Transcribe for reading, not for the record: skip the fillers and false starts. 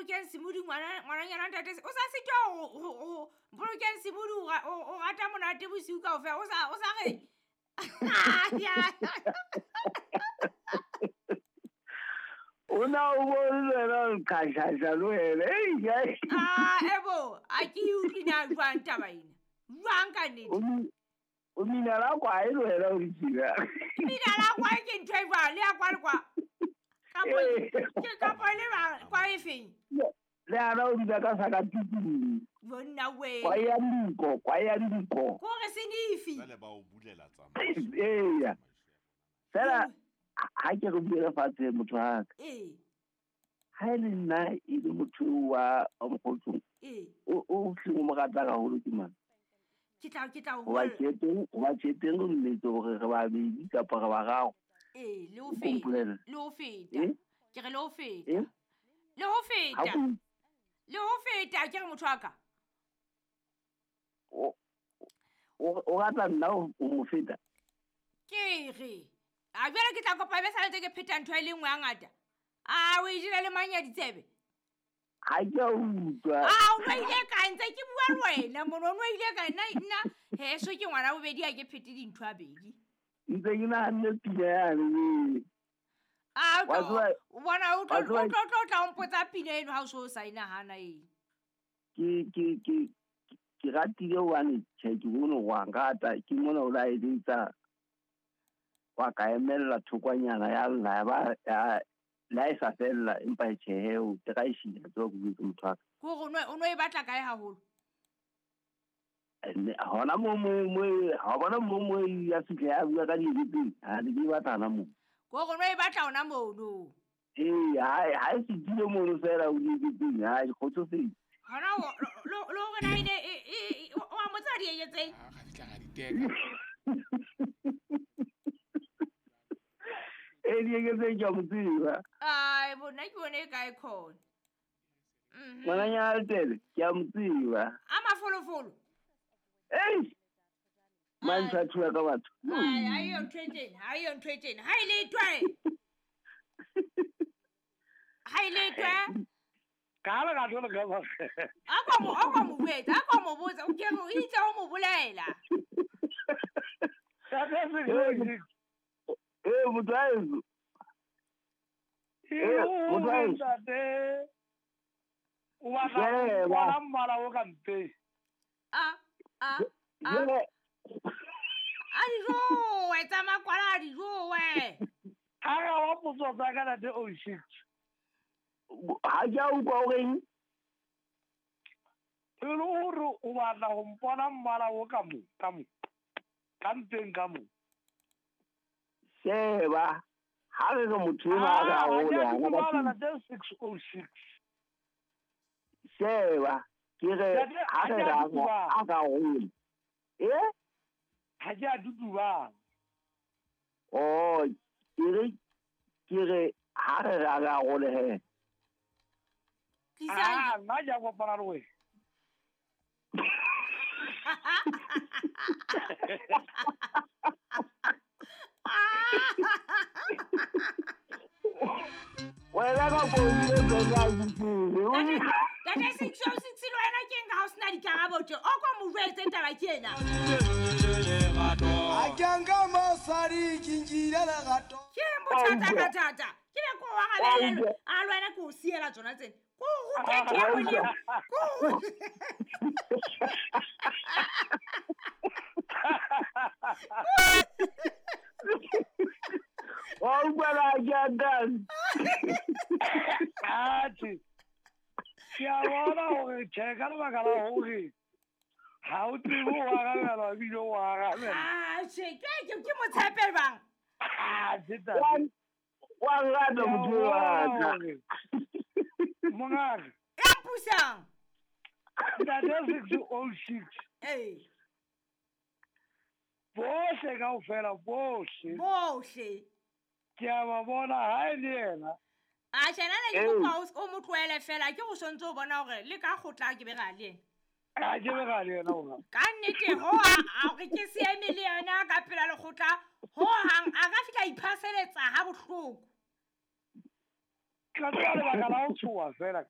Mpolokeng Semodi ngwananyana ntate o sa sitwa ho Mpolokeng Semodi o rata monate bosiu kaofela o sa re o na o bone le wena o qhashasha le wena. Ei, Ah, ebo, a ke e utlwe na jwang taba ena? Jwang ka nnete? O mina la kwae le wena o ditshila. Mina la kwae ke ntho e jwang? Le ya kwa le kwa? Kapo ke kapo le ba kwa e feng? Le ana o dula ka saka tutu. Bonna we. Kwa ya ndiko, kwa ya ndiko. Ko re senifi. Jwale ba o bulela tsamaiso. Eya. Fela ha ke re buela fatshe motho wa ka. Ee. Ha e le nna e le motho wa mokgotsong. Ee. O hleng o mo rata haholo ke mang? Ke tla o Hoba tjheteng o nnete hore re babedi kapa re bararo. Ee, le ho feta. Mpolelle. Le ho feta. Eh? Ke re le ho feta. Eh? Le ho feta. Ha ko- Le ho feta ke re motho wa ka. O rata nna o mo feta? Ke re. A jwale ke tla kopa be sa ntse ke pheta ntho e le nngwe ya ngata. A o e jele le mang ya ditsebe? Ha ke a utlwa. A o no ile ka ntse ke bua le wena mono, o no ile ka nna heso ke ngwana bobedi ha ke phete dintho a bedi. Ntse ke nahanne pina yane. A o Wa tseba- tlo bona o tlo wa tseba- o tlo tlo tla o mpotsa pina eno ha o so sa inahana eng. Ke ratile hobane tjhe ke bone hore wa nrata, ke mona o la eletsa wa ka emella thokwanyana ya lla ya ba ya la e sa fella empa e tjhe o tla e shila tswa go bua motho wa ka. Ke hore o no e batla kae haholo? Ene, hona mo mo mo ha bona mo mo ya fitlha ya bua ka dibete, ha di ke batla hona mo. Ke hore o no e batla hona mono. Ee, ha e fitlhile mono fela o dibeteng, ha e kgotsofetse. Hona o lo hore na ene e o a mo tseba dieketseng? Ha ga fihla ga diteka. Ee, dieketseng ke a mo tseba. Ai, bona ke bone e kae khona. Ngwananyana Letele, ke a mo tseba. A mafolofolo. Ei! Mantsha thua ka batho. Ai, ha eyo ntho e tjena, ha eyo ntho e tjena. Ha e le twe. Ha e le twe. Ka le ka tlo le ka ba. A kwa mo botsa, a kwa mo botsa, o ke re o itse o mo bolela. Ee, motho wa heso. Ee, motho wa heso. Ntate. O batla Sheba. bona mmala o ka mpeng. A, a, a. Jwale. A dijowe, tsa makwala a dijowe. Ha ra wa potso tsa ka ntate o six. Ha ke a utlwa o reng? E le hore o batla ho mpona mmala o ka mo, ka mo. Ka mpeng ka mo. Sheba, ha re re motho enwa a re Ah, haholo, ha ke a ha dumela ba ntate 606. Sheba, ke re Ntate, ha ha re ke a re a tutubala. a ka hole. Eh? Ha ke a tutubala. Oh, ke re ha re re a re hole he. Tlisang. Ah, nna ke a kopana le wena. Wena ka founile tsona a utlwile. Ntate 606 le wena ke eng ha o sena dikarabo tje? O kwa mo jwetse taba ke ena. Ha ke a nka mosadi, ke nkile lerato. Ke eng bothata ka thata? Ke be ko wa gabelelwe. A le wena ke o siela tsona tsena. Ko o rute ntho e nngwe le e nngwe. Ko o rute. Wa utlwa la ke a nkang? Atjhe. Ke a bona hore tjhe, ka lebaka la hore ha o tsebe ho arabela ebile o arabela. Atjhe, ke mo tshepe jwang? Atjhe, ntate. Wa nrata motho wa ka. Mongaka. Ya mpusang. Ntate 606. Ee. Bohle kaofela, bohle. Bohle. Ke a ba bona ha e le yena. A tjhe, nna ne ke Ee. kopa o mo tlohele fela, ke go sontse o bona hore le ka kgotla ke be ra le yena. A ke be ra le yena hona. Ka nnete, ho a hore ke se eme le yena ka pela lekgotla, ho hang a ka fihla iphaseletsa ha bohloko. Ka tseba lebaka la ho tshoha fela.